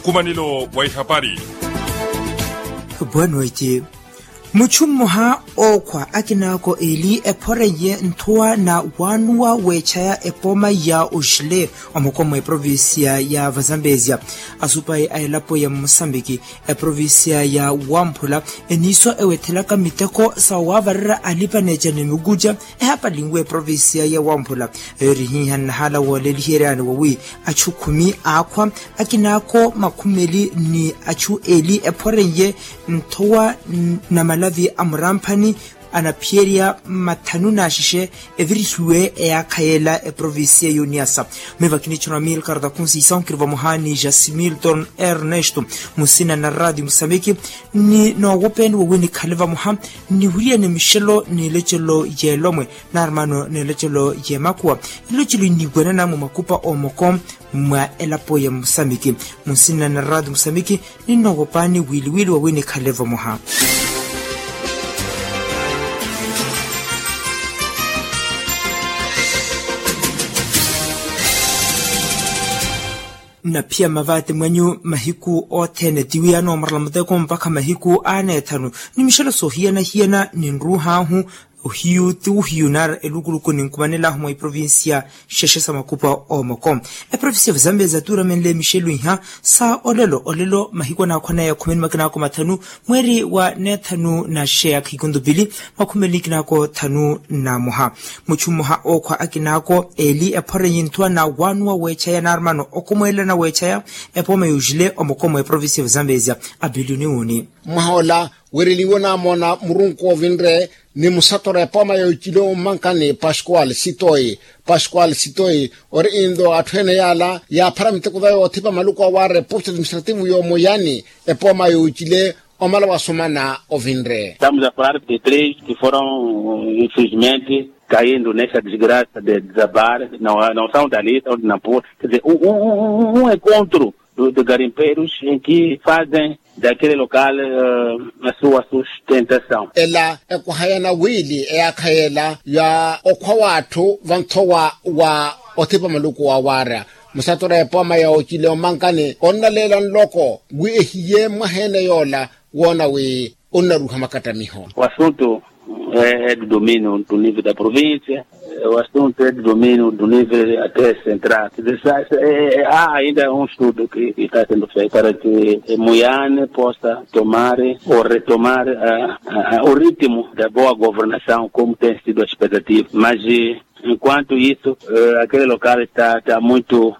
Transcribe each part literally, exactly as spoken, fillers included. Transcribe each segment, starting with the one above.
Nkumanelo wa ihapari. Bwanweti. Muchu mmoha ookhwa akinaako eli ephoreiye nthowa na waanuwa weechaya epooma ya oxile omoko mwa eprovincia ya vazambezia, asupayi a elapo ya mosambiki, eprovincia ya wamphula eniiso ewethelaka miteko sa waavarerya alipa-neeca ni mikuca. Ehapali nwe eprovincia ya wamphula eyo erihiiha nnahala wooleliheryani wawi achu khumi aakhwa, akinaako makhumeli ni achu eli ephoreiye nthowa na malavi a muramphani anaphiyerya mathanu n'axexe evirihiwe eyaakha yeela eprovincia y'oniyasa. Miva kinichona milkarta kunsisao kiri vamoha ni jasimilton ernesto musina na radio musambiki ni noowopeeni wowi nikhale vamoha niwiriyane mixelo n'ilecelo y'elomwe n'armano n'elecelo y'emakuwa. Ilocelo iniiwanana mwa makupa omoko mwa elapo ya musamiki munsina na radio musamiki. Ninnoowopani wiliwili wawi nikhale vamoha. Nnaphiya mmavaati mwenyu mahiku othene tiwiyano murala muteko mpakha mahiku aneethanu ni mixelo soohiyana-hiyana ninruuh'ahu. Ohiyu ti ohiyu naari elukuluku ninkumanelahu mwa iprovincia xexe sa makupa omoko. Eprovincia vazambia zatuuramenle mixelo iha sa olelo olelo mahiku anaakhwa naya khumeni makinaako mathanu mweeri wa neethanu na xexe ya khikuntupili makhumeli kinaako thanu na moha. Muchu mmoha ookhwa akinaako eli ephorenyi nthuwa na waanuwa weechaya naarumano okhumweelana weechaya epooma yoojile omoko mwa eprovincia vazambezia. Abilioni wuni. Mwaha ola weereliwe onamoona murunku ovinre ni musatora epooma yoocile ommankani pascual sitoi. Pascual sitoi ori into atthu ene yaala yaaphara miteko va yoothipa maluku awaare posto administrativo yoomuyani epooma yoocile omala wasumana ovinre. Estamos a falar de três que foram infelizmente caindo nesta desgraça de desabar, não são dali, são de nampula. Quer dizer, um encontro de garimpeiros em que fazem daquele local a sua sustentação. Ela ekwahayana wiili eyaakha yeela ya okhwa w'atthu vanthowa wa othipa maluku wa waara musatora epooma ya ocile omankani onnaleela nloko wi ehiye mwaha ene yoola woona wi onnaruuha makattamiho. O assunto é do domínio do nível da província. O assunto é do domínio do nível até central. Há ainda um estudo que está sendo feito para que Moiane possa tomar ou retomar o ritmo da boa governação como tem sido a expectativa, mas enquanto isso aquele local está muito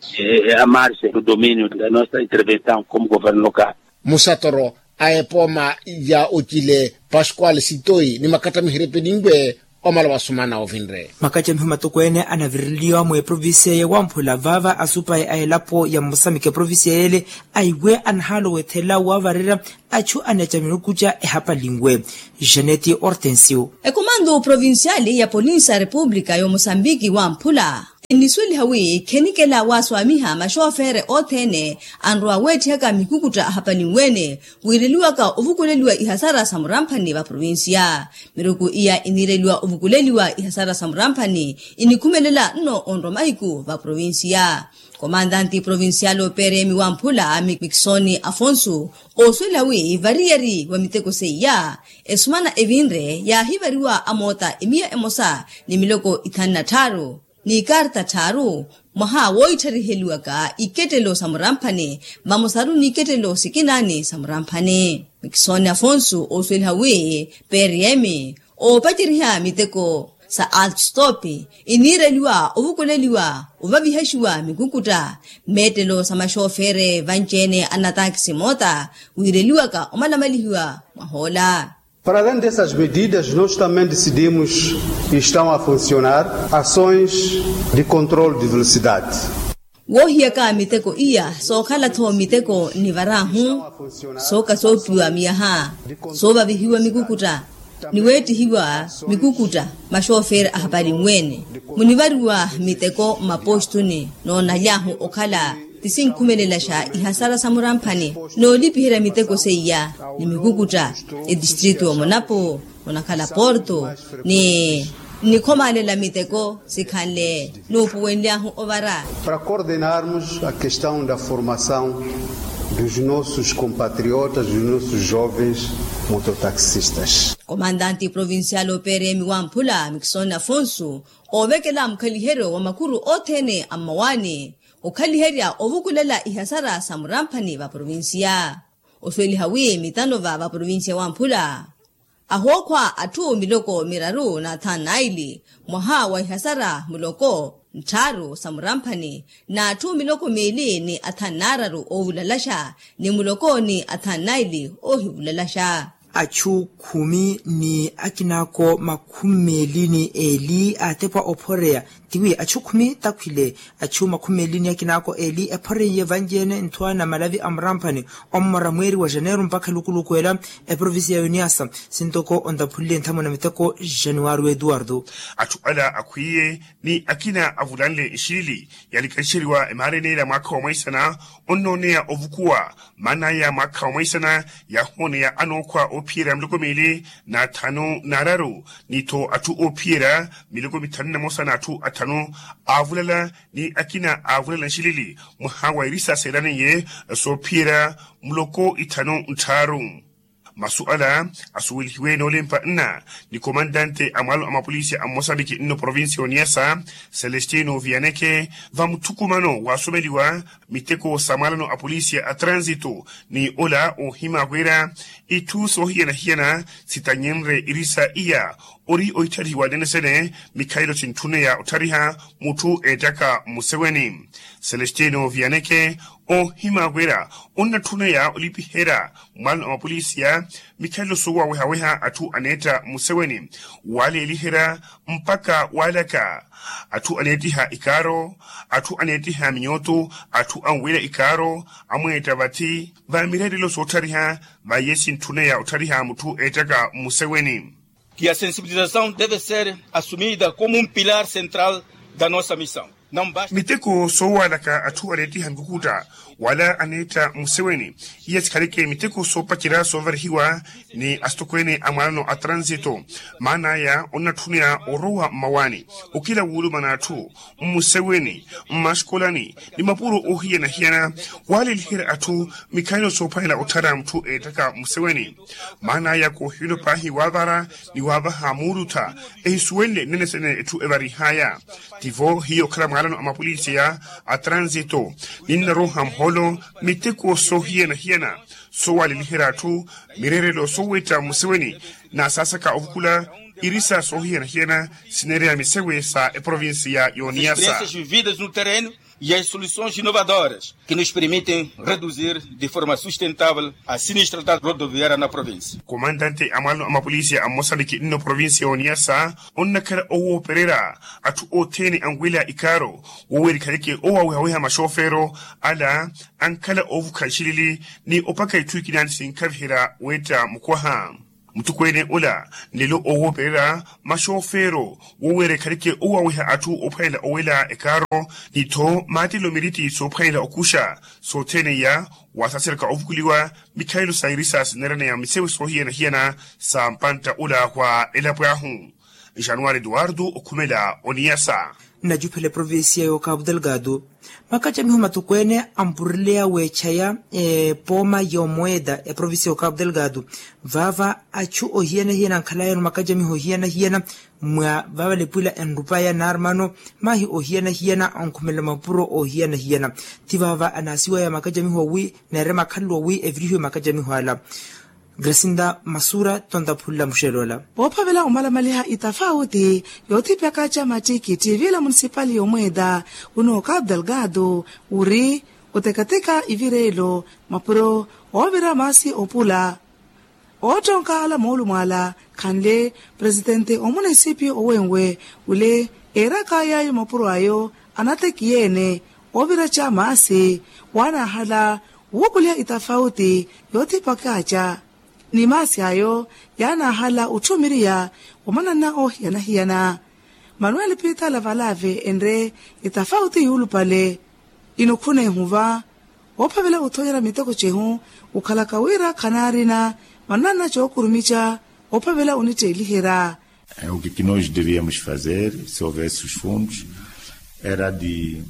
à margem do domínio da nossa intervenção como governo local. Musatoro a epooma ya ocile pascual sitoi ni makattamiho erepeninwe omala wasumana ovinre. Makattamiho matokweene anavireliwa mwa eprovincia ya wamphula vaava asupayi a elapo ya mmosamiki eprovincia yeele aiwe anahaala owethelela waavarerya achu aneeca minukuca ehapalinwe. Janeti hortensio. Ekomando provinciali ya polinsi a repupulika y'omosambiki wamphula enisuweliha wi khenikela waaswaamiha maxoofere othene anrowa weetthihaka mikukutta ahapalinwe-ene wiireliwaka ovukuleliwa ihasara sa muramphani va provincia. Miruku iya iniireliwa ovukuleliwa ihasara sa muramphani inikhumelela nno onrwa mahiku va provincia. Komandanti provincial operemi wamphula mikisoni afonsu oosuwela wi variyari wa miteko seiya esumana evinre yaahivariwa amoota emiya emosa ni miloko ithanu na tthaaru ni ikarta tthaaru mwaha wooitthariheliwaka ikettelo sa muramphani vamosaru ni ikettelo sikinaani sa muramphani. Mikisoni afonsu oosuweliha wi periyemi oopaceriha miteko sa altstop iniireliwa ovukuleliwa ovavihaxiwa mikukutta meettelo sa maxoofere vanci-ene a nataakisi moota wiireliwaka omalamalihiwa mwahoola. Para além dessas medidas nós também decidimos e estão a funcionar ações de controle de velocidade. Woohiyaka miteko iya sookhala-tho miteko nivar'ahu sooka soopiwa miyaha soovavihiwa mikukutta ni weettihiwa mikukutta maxooferi ahapalinwe-ene munivariwa miteko mmapostuni noonaly'ahu okhala tisinkhumelelaxa ihasara sa muramphani noolipiherya miteko seiya ni mikukutta etistritu omonapo onakhala porto ni nikhomaalela miteko sikhanle nuupuwenly'ahu ovara. Para coordenarmos a questão da formação Dos nossos compatriotas, dos nossos jovens mototaxistas. Komandante provincial operemi wamphula mikisoni afonso oovekela mukhaliheryo wa makuru othene a mmawaani okhaliherya ovukulela ihasara sa muramphani va provincia. Osuweliha wi mitanova va provincia wamphula ahookhwa atthu miloko miraru na athanu naili mwaha wa ihasara muloko nttharu sa muramphani na atthu miloko miili ni athanu naararu oovulalaxa ni muloko ni athanu naili oohivulalaxa. Achu khumi ni akinaako makhumi meeli ni eeli aatepwa ophoreya. Tiwi achu khumi takhwile achu makhumi meeli ni akinaako eeli ephoreiye vanci-ene nthuwa na malavi a muramphani ommora mweeri wa janeiro mpakha lukuluku ela eprovincia ya uniasa sintoko ontaphulile nthamuna miteko januwari wa etuwartu. Atthu ala akhwiiye ni akina avulanle nxilili yalikanxeriwa emaareni ela mwaakha wa mwaisana onnooneya ovukuwa maana aya mwaakha wa mwaisana yaahooneya anookhwa oophiyerya miloko miili na athanu na araru ni-tho atthu oophiyerya miloko mithanu na mosa na atthu athanu aavulala ni akina aavulala nxilili mwaha wa irisa seelaneiye soophiyerya muloko ithanu nttharu. Masu ala asuwelihiwe noolempa nna ni komandante a mwaalo a mapolisi a mmosambiki nno provincia ya oniasa celestino vianeke va muthukumano waasomeliwa miteko sa mwaalano a polisi a transito ni ola oohima wira itthu soohiyana-hiyana sitanyinre irisa iya ori ohittarihiwa nene-sene mikhalelo sintthuneya otthariha mutthu eettaka mmuseweni. Celestino vianeke oohima wira onnatthuneya olipiherya mwaalano a mapolisiya mikhalelo soowawehaweha atthu aneetta mmuseweni waaleeliherya mpakha waalaka atthu aneettiha ikaaro atthu aneettiha minyootu atthu anwira ikaaro amweetta vatthi va mireerelo soottariha vaiye sintthuneya otthariha mutthu eettaka mmuseweni. Que a sensibilização deve ser assumida como um pilar central da nossa missão. Miteko soowalaka atthu aneettiha mikukuta wala aneetta mmuseweni iya sikhaleke miteko soopacerya soovarihiwa ni asitokweene a mwaanano a transito maana aya onnatthuneya orowa mmawaani okila wuulumana atthu mmuseweni mmaxikolani ni mapuro oohiyana-hiyana waaleliherya atthu mikhalelo soophwanela otthara mutthu eettaka mmuseweni maana aya koohiwelo paahi waavara ni waavaha muulutha ehisuwenle nnene-sene etthu evarihaya. Tivo hiyo okhala mwaalano a mapolisiya a transito ninnaroha muhoolo miteko soohiyana-hiyana soowaleliherya atthu mireerelo soowetta mmuseweni na saasaka ovukula irisa soohiyana-hiyana sineereya misewe sa eprovincia ya oniasa. Vividas no terreno e as soluções inovadoras que nos permitem reduzir de forma sustentável a sinistralidade rodoviária na província. Komandante a mwaalano a mapolisiya a mmosaliki nno província ya oniasa onnakhala owoopererya atthu othene anwela ikaaro woweerikhaleke owawehaweha maxoofeero ala ankhala oovukha nxilili ni opaka itthu ikina ni sinkhaviherya weetta mukwaha. Muttukweene ola nlelo oowoopererya maxoofeero woweerikhaleke owaweha atthu oophwanela owela ekaaro ni-tho maattelo miritti soophwanela okuxa sothene iya waasaaseraka ovukuliwa mikhalelo sa irisa sineeraneya misewe soohiyana-hiyana sa mpantta ola wa elapo ahu. Januwari eduwardo okhumela oniyasa. Nnajuphela eprovincia ya okapu delgado makacamiho matukweene ampureleya weechaya epooma ya omoeda eprovincia ya okapu delgado vaava achu ohiyana-hiyana ankhalayano makacamiho ohiyana-hiyana mwa vaavalepwila enrupaya naarumano mahi ohiyana-hiyana onkhumelela mapuro ohiyana-hiyana. Ti vaava anaasiwaya makacamiho wi neere makhalelo wi evirihiwe makacamiho ala. Grasinda masura tontaphunla muxelela ola. Woophavela omalamaliha itafauti yoothipyaka ca mattikitthi viila munisipali yomweeda unooka abdelgado uri otekateka ivireelo mapuro oovira maasi opula oottonka ala moolumo ala khanle presitente omunisipi owenwe ule eeraka yaayo mapuro ayo anatekiyeene oovira ca maasi waanahala wuukuliha itafauti yoothipaka ca ni maasi ayo yaanahala otthumiriya wa mananna oohiyana-hiyana. Manuel pittala valave enre itafauti yuulupale inukhuna ehuva oophavela othoonyera miteko cehu okhalaka wira khanaarina mananna cookurumica oophavela onitteeliherya. O que que nós devíamos fazer se houvesse os fundos era de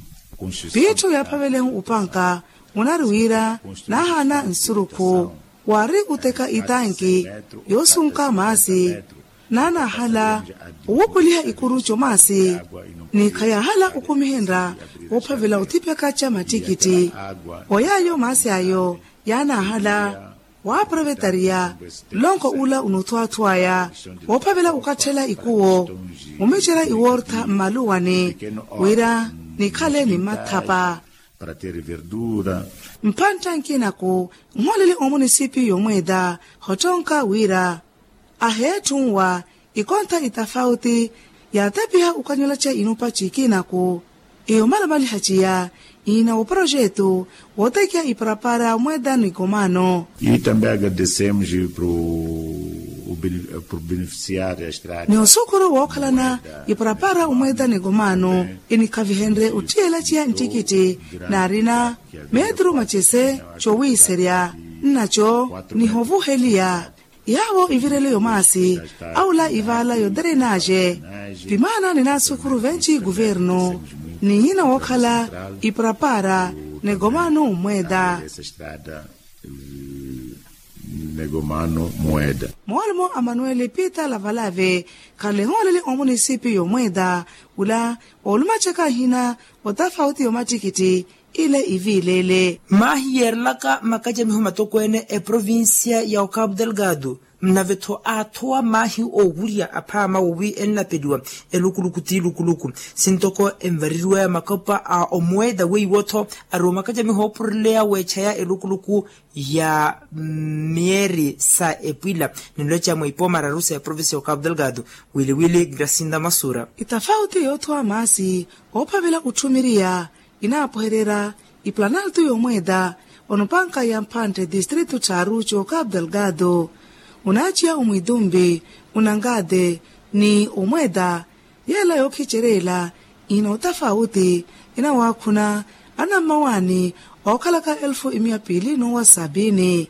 pitthu yaaphavelehu opanka Munari wira naahaana nsurukhu waari oteka itanki yoosunka maasi. Naanaahala owukuliha ikuru comaasi ni khayaahala okumihenrya woophavela othipyaka ca mattikitti. Oyaayo maasi ayo yaanaahala waaprovetariya nlonko ula onothwaathwaya woophavela okatthela ikuwo omicerya iwoortha mmaluwani wira nikhale ni mmathapa. Mphantta nkinaku nhoolele omunisipiyu yomweeta hottonka wira aheetthunwa ikontha itafauti yaatepiha okanyolaca inupa cikinaku. Eyo malamaliha ciya ihina woporojetu wootekiha iparapara omweeta ni komaano. Itambeyaka desemos pro beneficiar a estrada ni osukhuru wookhalana iparapara omweeta ni komaano inikhavihenrye otthiyela ciya nttikitti naarina meeturu macese cowiiserya nnaco nihovuheliya. Yaavo ivirele yomaasi aula ivaala yoterenaje pimaana ninaasukhuru venci guvernu ni hina wookhala iparapara ni komaano omweeta. Negomano mweda. Moolumo a manueli piita lavalave khalehooleli omunisipiyu yomweeda ula oolumacaka nhina otafauti yomattikitti ile iviileele. Maahi yeerelaka makacamiho matokweene eprovincia ya ocapu delgado nnave-tho aathowa maahi oowurya aphaama wowi ennapeliwa elukuluku t'ilukuluku sintoko envareriwaya makopa a omweeda weiwo-tho ari omakacamiho oopureleya weechaya elukuluku ya miyeri sa epwila. Ninloca mwa ipooma araru sa eprovincia ya ocapu delgado wiliwili gracinda masura. Itafauti yoothowa maasi oophavela otthumiriya inaapohererya iplanaltu yomweeda onopanka ya mphantte distritu tthaaru c'ocapu delgado onaaciya omwitumbi onangate ni omweeda. Yeela yookhicereela ihina otafauti inawaakhuna anammawaani ookhalaka elfu imiya piili n'uwa sabiini.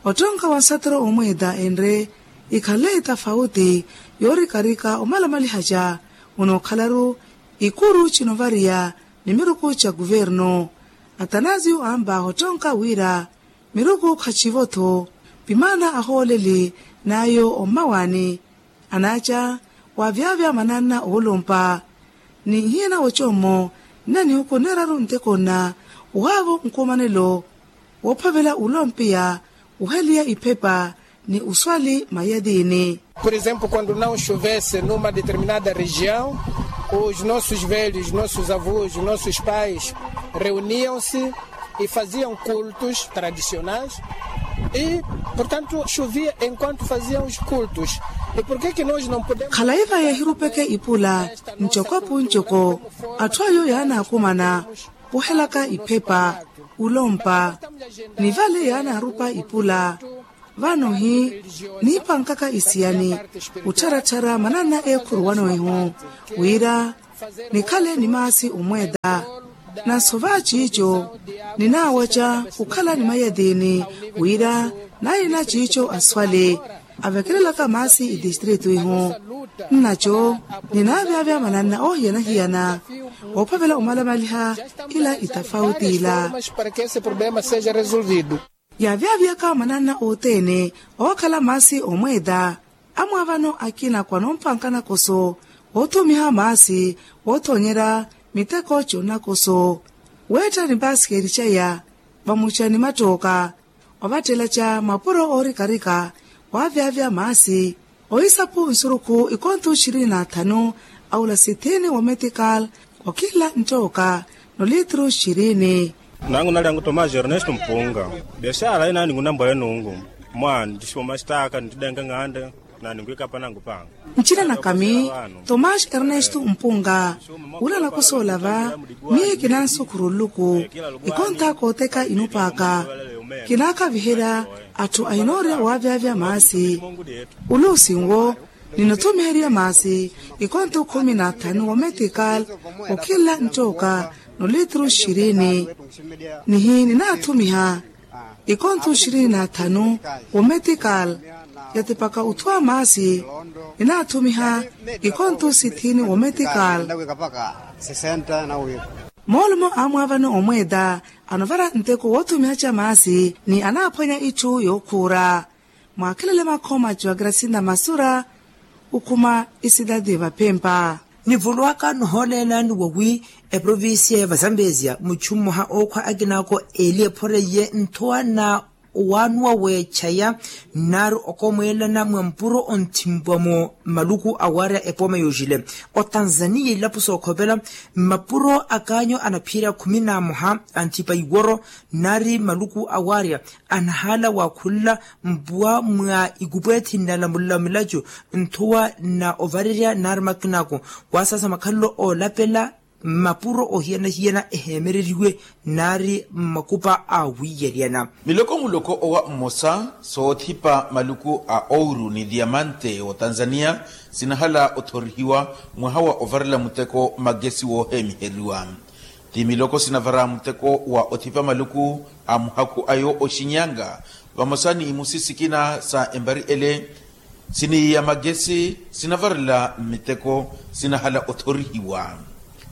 Ottonka wa nsatero omweeta enre ikhanle itafauti yoorikarika omalamalihaca onookhalaru ikuru cinovariya ni miruku ca kuvernu. Atanasio amba hottonka wira miruku khacivo-tho pimaana ahooleli n'ayo ommawaani anaaca waavyavya mananna oolompa ni nhiyana wocommo nna nihuku neeraru nteko nna ohaavo nkumanelo woophavela olompiya oheliya iphepa ni oswali mayatiini. Por exemplo quando não chovesse numa determinada região os nossos velhos nossos avós nossos pais reuniam-se e faziam cultos tradicionais e portanto chovia enquanto faziam os cultos. E porquê que nós não podemos? Khalayi va yeehirupeke ipula ncoko pu ncoko atthu ayo yaanaakumana ohelaka iphepa olompa ni vale yaanaarupa ipula. Vano hi niipankaka isiyani ottharattharya mananna eekhuruwano ehu wira nikhale ni maasi omweeta. Nansova ciico ninaawaca okhala ni mayatiini wira naahina ciico aswale avekelelaka maasi itistritu ihu nnaco ninaavyavya mananna oohiyana-hiyana oophavela omalamaliha ila itafauti ila. Yaavyaviyaka mananna othene ookhala maasi omweeta amwaavano akina kwanompankana koso oothumiha maasi oothoonyerya miteko conakoso weetta ni mpaasikeri caya vamuca ni mattooka ovattelaca mapuro oorikarika waavyavya maasi ohisapu nsurukhu ikonthu xirini na thanu aula sithini wa metikal okila nttooka nolitru xirini. Nangu nali angu tomasi ernesto mpunga biashara inaani ngunambwale nungu mwa ntisipo masitaka ntidenga ng'ande naani ngwikapa nangu panga. Ncina nakami tomasi ernesto mpunga ula nakosoolava miye kinansukhuru nluku ikontha kooteka inupaka kinaakaviherya atthu ahinoorya waavyavya maasi uluusi nwo ninothumiherya maasi ikontho khumi na thanu wa metikal okhila nttooka nolitru xirini nihi ninaathumiha ikontho xirini na thanu wa metikal yatipaka othwa maasi ninaathumiha ikontho sithini wa metikal. Moolumo amwaavani omweeta anovara nteko woothumiha ca maasi ni anaaphwanya itthu yookhuura. Mwaakhelele makhooma a juwagrasinda masura okhuma isidadi vaphempa. Nivulwaka nohoolelani wawi eprovincia ya vazambezia muchu mmoha ookhwa akinaako eeli ephoreiye nthowa na owanuwa weechaya nari okomweelana mwa mpuro onthimpwa-mo maluku awarya epooma yoojile otanzania ilapo sookhopela mmapuro akaanyo anaphiyerya khumi na mmoha anthipa iworo nari maluku awarya anahaala wakhulula mpuwa mwa ikupwethi nnalamulala milaco nthuwa na ovarerya nari makinako waasasa makhalelo oolapela mmapuro ohiyana-hiyana eheemereriwe nari mmakupa a wiiyeriyana. Miloko muloko owa mmosa soothipa maluku a ouru ni diamante otanzania sinahala othorihiwa mwaha wa ovarela muteko magesi wooheemiheriwa. Ti miloko sinavara muteko wa othipa maluku a muhakhu ayo oxinyanga vamosa ni imusi sikina sa embari ele siniiya magesi sinavarela mmiteko sinahala othorihiwa.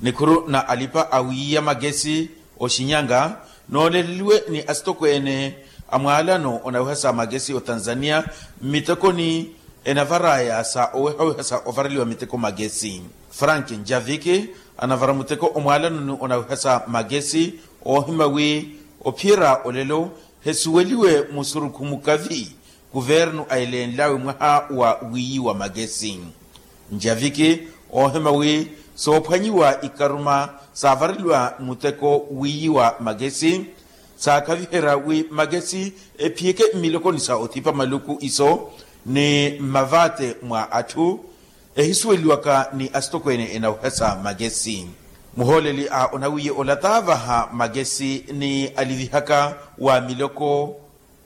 Nikhuru na alipa awiiya magesi oxinyanga nooleleliwe ni asitokweene a mwaalano onaweha sa magesi otanzania mmitekoni enavaraya sa owehaweha sa ovareliwa miteko magesi. Frank njaviki anavara muteko omwaalanoni onaweha sa magesi oohima wi ophiyerya olelo hesuweliwe musurukhu mukavi kuvernu aelenlawe mwaha wa wiiyi wa magesi. Njaviki oohima wi soophwanyiwa ikaruma saavareliwa muteko wiiyi wa magesi saakhaviherya wi magesi ephiyeke mmilokoni sa othipa maluku iso ni mmavate mwa atthu ehisuweliwaka ni asitokweene enaweha sa magesi. Muhooleli a onawiye olata vaha magesi ni alivihaka wa miloko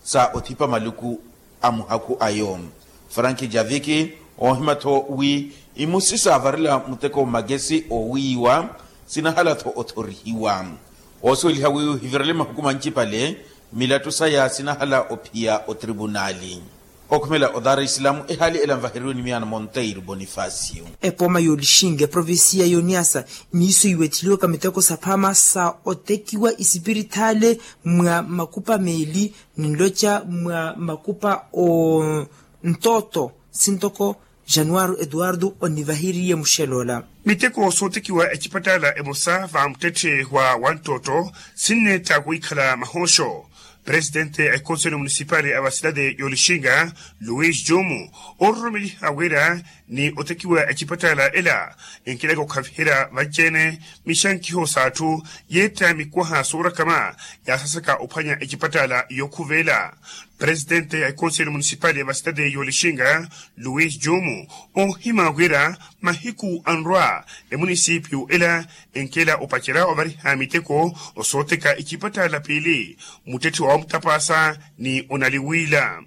sa othipa maluku a muhakhu ayo. Frank javiki oohima-tho wi imusi saavarela muteko magesi oowiiwa sinahala-tho othorihiwa. Oosuweliha wi ohivirele mahuku mancipale milattu saya sinahala ophiya otripunaali. Okhumela odara isilamu ehaali ela nvaheriwe ni miyaana monteiro bonifacio. Epooma y'olixinga eprovincia y'oniasa niiso iwetheliwaka miteko saphama sa otekiwa isipirithale mwa makupa meeli ninloca mwa makupa o ntooto sintoko januwari eduwardo onivaheriye muxeloola. Miteko sootekiwa ecipattaala emosa va muttetthe wa wanttootto sinneetta wikhala mahooxo. Presitente a ekonseli munisipali a vasitati y'olixinga luis jumu ororomeliha wira ni otekiwa ecipattaala ela enkelaka okhaviherya vanci-ene mixankiho s'atthu yeetta mikwaha soorakama yaasasaka ophwanya ecipattaala yookhuveela. Presitente a ekonseli munisipali a vasitati y'olixinga luis jumu oohima wira mahiku anrwa emunisipiyu ela enkela opacerya ovariha miteko osooteka ecipattaala piili muttetthe wa wamutapaasa ni onaliwiila.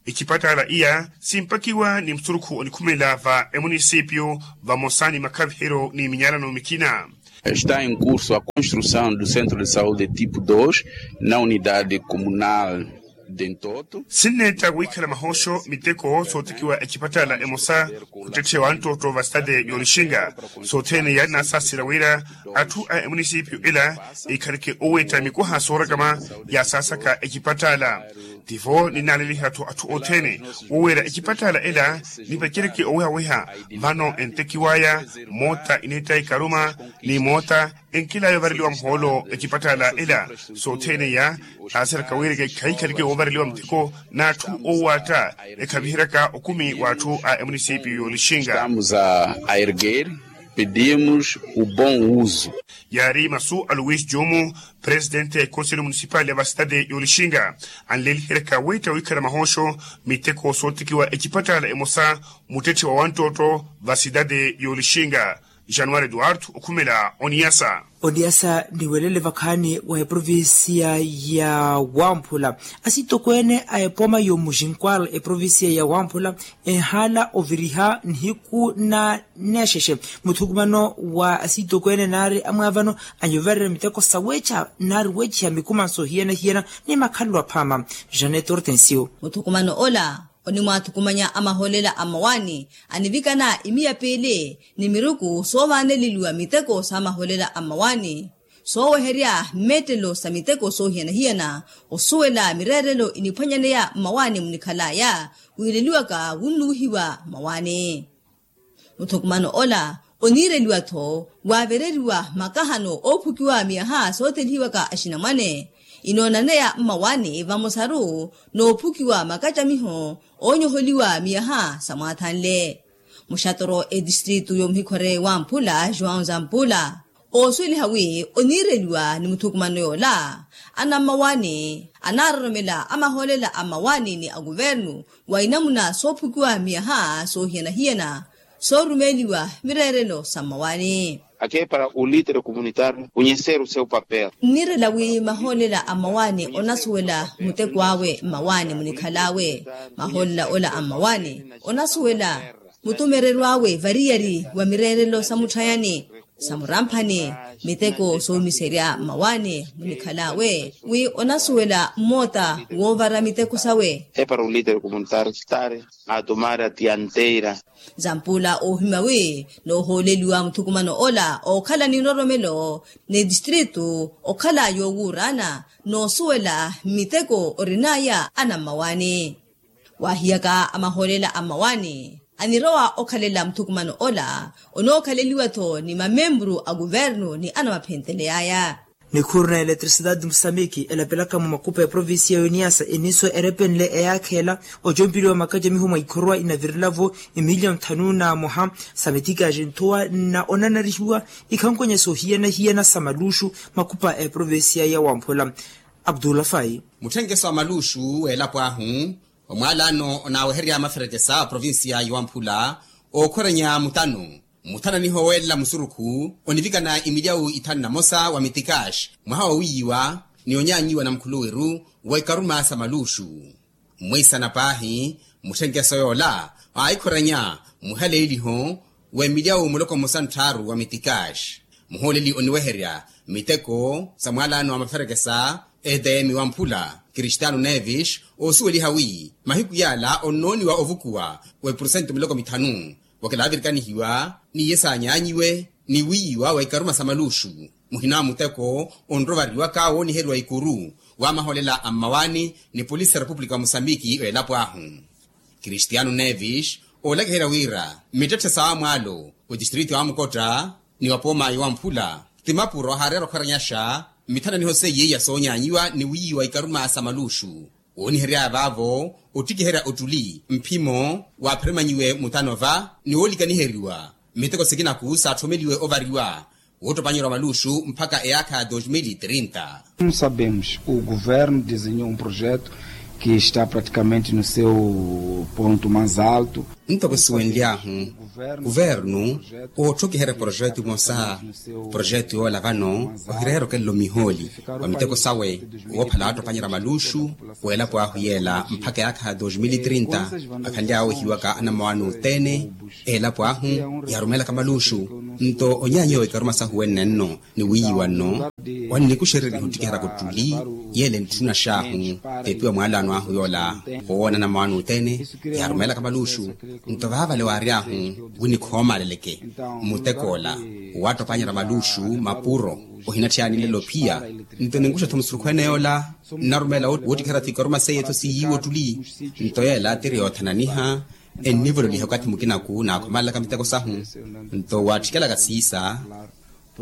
Ecipattaala iya simpakiwa ni musurukhu onikhumela va emunisipiyu vamosa ni makhaviheryo ni minyalano mikina. Está em curso a construção do centro de saúde tipo dois na unidade comunal de ntoto. Sinneetta wikhala mahooxo miteko sootekiwa ecipattaala emosa muttetthe wa ntootto va sitade y'olixinga sothene yaari naasasira wira atthu a emunisipiyu ela ekhaleke oweetta mikwaha soorakama yaasaasaka ecipattaala. Tivo ninaaleliha-tho atthu othene woweera ecipattaala ela nipacereke owehaweha vano entekiwaya moota ineetta ikaruma ni moota enkelaya ovareliwa muhoolo ecipattaala ela. Sothene iya aasiraka wira khaikhaleke woovareliwa muteko n'atthu oowaatta ekhaviheryaka okumi w'atthu a emunisipiyu y'olixinga. Estamos a erguer. Pedimos o bom uso. Yaari masu a luis jumu presitente a ekonseli munisipali ya vasitade y'olixinga anleliheryaka weetta wikhala mahooxo miteko sootekiwa ecipattaala emosa muttetthe wa wanttootto vasitade y'olixinga. Januwari eduwardo okhumela oniyasa. Oniyasa niwelele vakhaani wa eprovincia ya wamphula asitokweene a epooma y'omuxinkwal eprovincia ya wamphula enhaala oviriha nihiku na neexexe muthukumano wa asitokweene naari amwaavano anyovererya miteko saweecha naari weechiha mikuma nsohiyana-hiyana ni makhalelo aphaama. Janet hortensio. Muthukumano ola onimwaathukumanya a maholela a mmawaani anivikana imiya piili ni miruku soovaaneleliwa miteko sa maholela a mmawaani. sooweherya mmeettelo sa miteko soohiyana-hiyana. Osuwela mireerelo eniphwanyaneya mmawaani munikhalaya wiireliwaka wunnuwihiwa mmawaani. Muthukumano ola oniireliwa-tho waavereriwa makahano oophukiwa miyaha soothelihiwaka axinamwane inoonaneya mmawaani vamosaru noophukiwa makacamiho oonyoholiwa miyaha sa mwaathanle. Muxatoro etistritu yomuhikhore wamphula joão zampula oosuweliha wi oniireliwa ni muthukumano yoola anammawaani anaaroromela amahoolela a mmawaani ni akuvernu wa inamuna soophukiwa miyaha soohiyana-hiyana soorumeeliwa mireerelo sa mmawaani. Aqui é para o líder comunitário conhecer o seu papel. Nniirela wi mahoolela a mmawaani onasuwela muteko awe mmawaani munikhal'awe. Mahoolela ola a mmawaani onasuwela mutumereryo awe variyari wa mireerelo sa mutthayani sa muramphani miteko soomiserya mmawaani munikhal'awe wi onasuwela mmoota woovara miteko sawe. É para o líder comunitário estar a tomar a dianteira. Zampula oohimya wi noohooleliwa muthukumano ola ookhala ni nroromelo ni tistritu okhala yoowuuraana noosuwela miteko orin'aya anammawaani. Waahiyaka amahoolela a mmawaani anirowa okhalela muthukumano ola onookhaleliwa-tho ni mamempuru a kuvernu ni anamaphenteley'aya. Nikhuru na eletricidade musamiki elapelaka mu makupa ya provincia ya uniasa eniso erepenle eyaakha ela ocompeliwa makacamiho mwa ikhorwa inavirelavo emilion nthanu na moha sa mitikaji nthuwa na onanarihiwa ikhankonya soohiyana-hiyana sa maluxu makupa a eprovincia ya wamphula. Abdullah fai. Mutthenkeso wa maluxu w'elapo ahu omwalano onaaweherya maferekesa a provincia ya wamphula ookhwerenya mutano muthananiho weelela musurukhu onivikana imilyawu ithanu na mosa wa mitikaxi mwaha wa wiiwa ni onyaanyiwa na mukhuluwiru wa ikaruma sa maluxu. Mwiisana paahi mutthenkeso yoola aahikhwerenya muhaleeliho w'emilyawu muloko mmosa ntthaaru wa mitikaxi muhooleli oniweherya miteko sa mwalano wa maferekesa etm wamphula kristiano nevis oosuweliha wi mahiku yaala onnooniwa ovukuwa wa epursentu miloko mithanu wakilaavirikanihiwa ni iye saanyaanyiwe ni wiiwa wa ikaruma sa maluxu. Muhina wa muteko onrovariwaka wooniheriwa ikuru wa mahoolela a mmawaani ni polisi ya repupulika wa musambiki w'elapo ahu kristiano nevis oolakiherya wira mittetthe sa wamwaalo otistriti wa mukotta ni wa pooma ya wamphula ti mapuro haareera okhweranyaxa mithananiho seiye ya soonyaanyiwa ni wiiwa ikaruma sa maluxu. Wooniheryaya vaavo ottikiherya ottuli mphimo waapheremanyiwe mutano va ni woolikaniheriwa miteko sikinaku saathomeliwe ovariwa woottopanyerya maluxu mpakha eyaakha ya dos mil e trinta. Como sabemos o governo desenhou um projeto que está praticamente no seu ponto mais alto. Ntoko siwenly'ahu kuvernu oottokiherya projeto imosa projeto yoola vano ohireera okelelo mihooli wa miteko sawe woophala waattopanyerya maluxu w'elapo ahu yeela mpakha eyaakha ya dos mil e trinta. Akhanly'awe ohiwaka anammawaani othene elapo ahu yaarumeelaka maluxu nto onyaanyiwa wa ikaruma sahu wenne nno ni wiiwa nno. Wannikuxereriha ottikiheryaka ottuli yeele ntthuna xaahu teepiwa mwaalano ahu yoola owoona anammawaani othene yaarumeelaka maluxu nto vaavale waary'ahu wi nikhoomaaleleke muteko ola waattopanyerya maluxu mapuro ohinatthiyani nlelo phiya. Nto ninkuxa-tho musurukhu ene yoola nnarumeela woottikiherya-tho ikaruma seiye-tho siiyiiwa ottuli nto yeela tiri yoothananiha ennivololiha okathi mukinaku naakhomalelaka miteko sahu. Nto waattikelaka siisa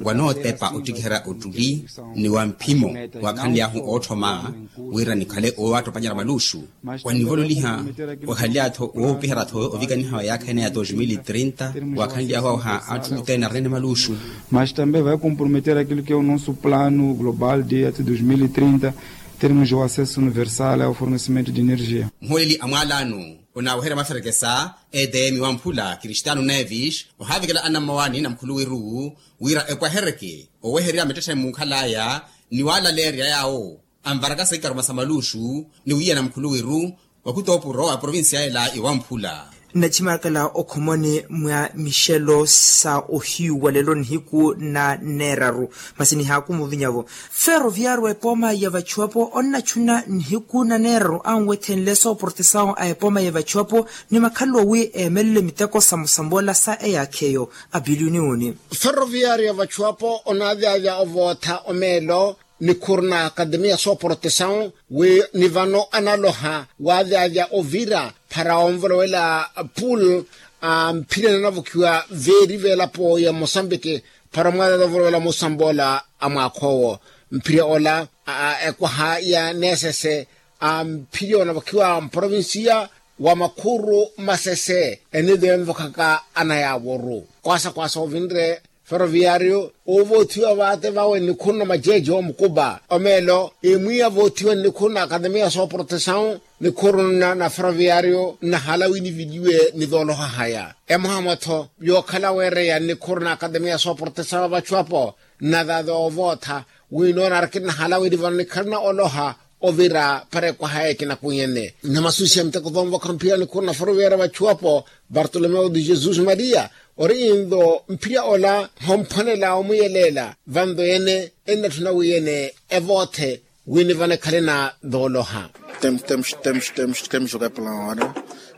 wanootepa ottikiherya ottuli ni wa mphimo waakhanly'ahu ootthoma wira nikhale owaattopanyerya maluxu wannivololiha wakhanly'ahu-tho woopiherya-tho ovikaniha wa yaakha ene ya dos mil e trinta waakhanly'ahu awaha atthu othene arinene maluxu. Mas também vai comprometer aquilo que é o nosso plano global de até dos mil e trinta termos o acesso universal ao fornecimento de energia. Muhooleli a mwaalano onaaweherya maferekesa etm wamphula kristiano nevis ohaavikela anammawaani na mukhuluwiru wira epwahereke oweherya mittetthe muukhal'aya ni waalaleerya yaawo anvarakasa ikaruma sa maluxu ni wiiyana mukhuluwiru wa khutoopuro a provincia ela iwamphula. Nnachimarakala okhomoni mwa mixelo sa ohiyu wa lelo nihiku na neeraru. Masi nihaakumu ovinya-vo. Ferroviario epooma ya vachuwapo onnachuna nihiku na neeraru anwethenle sooportesawo a epooma ya vachuwapo ni makhalelo wi eemelele miteko samusambola sa eyaakha eyo. Apiliyuni uni. Ferroviario ya vachuwapo onaavyavya ovootha omeelo nikhuru na akademiya sooportesawo wi ni vano analoha waavyavya ovira para onvolowela pool a mphirya nanavokhiwa veeri v'elapo ya mosambiki para omwaala onvolowela musamboola a mwaakha owo. Mphirya ola a ekwaha ya neesese a mphirya onavokhiwa mprovinsiya wa makhuru masese eniido envokhaka anayaaworu kwaasa kwaasa ovinre ferroviario. Ovoothiwa vaate vawe nikhuru na majeje omukupa omeelo emwiya voothiwa nikhuru na akademiya sooportesawo nikhuru na ferroviario nnahala wi niviliwe ni vooloha haya emoha mwa-tho yookhala weereya nikhuru na akademiya sooportesawo vachu apo. Nnathaatha ovootha wi noona arikiri nnahala wi nivano nikhalana oloha ovira para ekwaha ekina kunyene. Nnamasusiha miteko thoonvokha mphirya nikhuru na ferroviario vachu apo. Bartolomeo de jesus maria ori intho mphirya ola homphwanela omuyeleela vantho ene ennatthuna wi ene evoothe wi nivano ekhale na thooloha. Temos temos temos temos temos jogar pela hora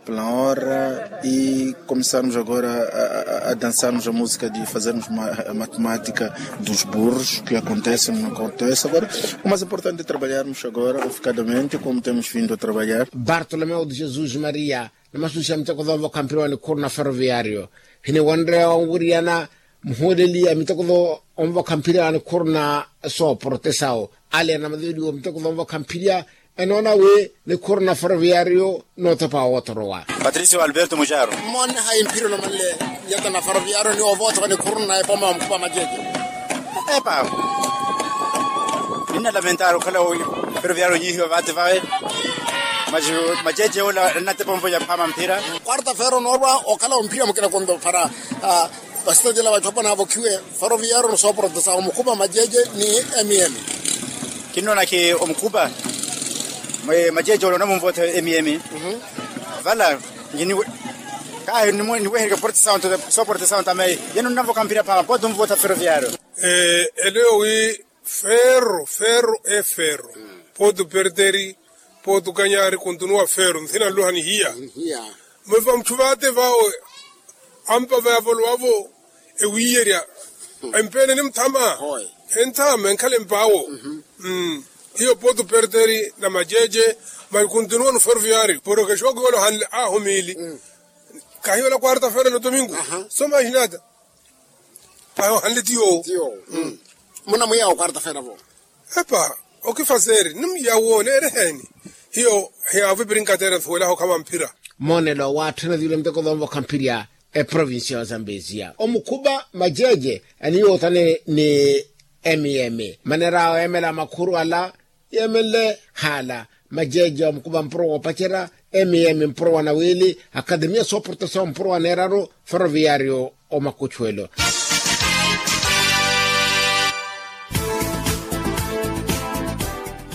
pela hora e começarmos agora a dançarmos a música de fazermos matemática dos burros que acontece no acontece agora. O mais importante é trabalharmos agora oficadamente como temos vindo a trabalhar. Bartolomeo de jesus maria. Namasusiha miteko thoonvokha mphirya wa nikhuru na ferroviario hiniwonre onwiriyana muhuuleli a miteko thoonvokha mphirya wa nikhuru na sooportesawo ale anamaveliwa miteko thoonvokha mphirya. Enoona wi nikhuru na ferroviario nootopa woothorowa. Patricio alberto mujaru. Mmoone hayi mphirya olomanle nyata na ferroviario ni ovoothoka nikhuru na epooma ya omukhupa majeje. Epa ninna lamentari okhala ferroviario onyihiwa vaate vawe. Majeje ola ennatepa omvoya phaama mphira. Quarta fero noorwa okhala omphirya mukina konto para vasitadila vatthu apo naavokhiwe ferroviario ni sooporotesa omukhupa majeje ni mm. Kinnoonakhi omukhupa majeje ola onamunvootha mm. Vala kahi niweherike porotesa onto sooporotesa onto ameye yeno nnavoka mphira phaama pooti omvootha ferroviario. Eleyo wi ferro ferro e ferro pooti operteri pooti okanyari kontunuwa ferro nthina nluha nihiya. Mwiva mutthu vaate vawe ampa vayavolowa-vo ewiiyerya empeene ni muthama. Enthama enkhala empaawo hiyo pooti operteri na majeje. Maikuntunuwa no ferroviario porokexi wakuyola ohanle ahu miili kahiyola quarta fera no domingo. So mahinata pahi ohanle tiyo. Munamwiya wa quarta fera vo. Epa okifaseeri nimwiya wo neereheni hiyo hiyaavu epirinkateera nsuwelaho khama mphira. Moonelo waatthana thiwile miteko thoonvokha mphirya eprovincia ya ozambesia omukhupa majeje aniyootane ni mm. Maneera awo eemela makhuru ala yeemenle haala majeje omukhupa mpuro woopacerya mm mpuro wa nawiili akademia sooportesao mpuro wa neeraru ferroviario omakuchuwelo.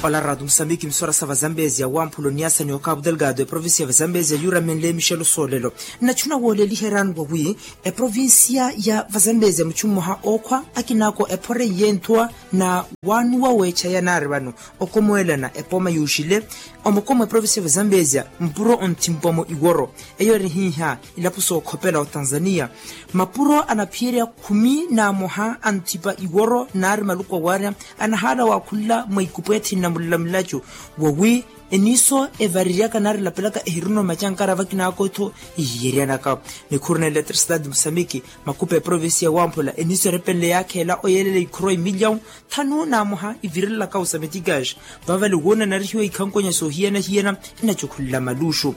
Ola raatu musambiki misora sa vazambesia wamphula oniasa ni okapu delgado eprovincia ya vazambesia yuuramenle mixelo soolelo. Nnachuna wooleliheryani wawi eprovincia ya vazambesia muchu mmoha ookhwa akinaako ephoreiye nthuwa na waanuwa weecha yanaari vano okomoelana epooma yuuxile omukomo eprovincia ya vazambesia mpuro onthimpwa-mo iworo eyo eri hiiha ilapo sookhopela otanzania. Mapuro anaphiyerya khumi na amoha anthipa iworo naari maluku awaarya anahaala waakhunla mwa ikupwethi nna mullamilacu wawi eniiso evariryaka naari elapelaka ehirina omacankara vakinaako-tho. Ihiyeryana-ka nikhuru na eletrisitati musambiki makupa eprovincia wamphula eniiso erepenle yaakheela oyeelela ikhuru a imilyawu thanu na amoha ivirelelaka osametikaxi. Vavale woona enarihiwa ikhankonya soohiyana-hiyana enachukhunla maluxu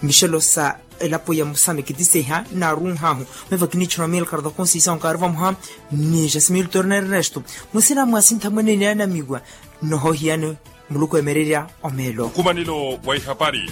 mixelo sa elapo ya musamekitiseha naarunhahu. Meva kinichuna mil cardoconsisahu kaari vamoha ni jasimil torna ernesto musina mwasintha mwenene anamiwa nnohohiyani muluku emererya omeelo. Nkumanelo wa ihapari.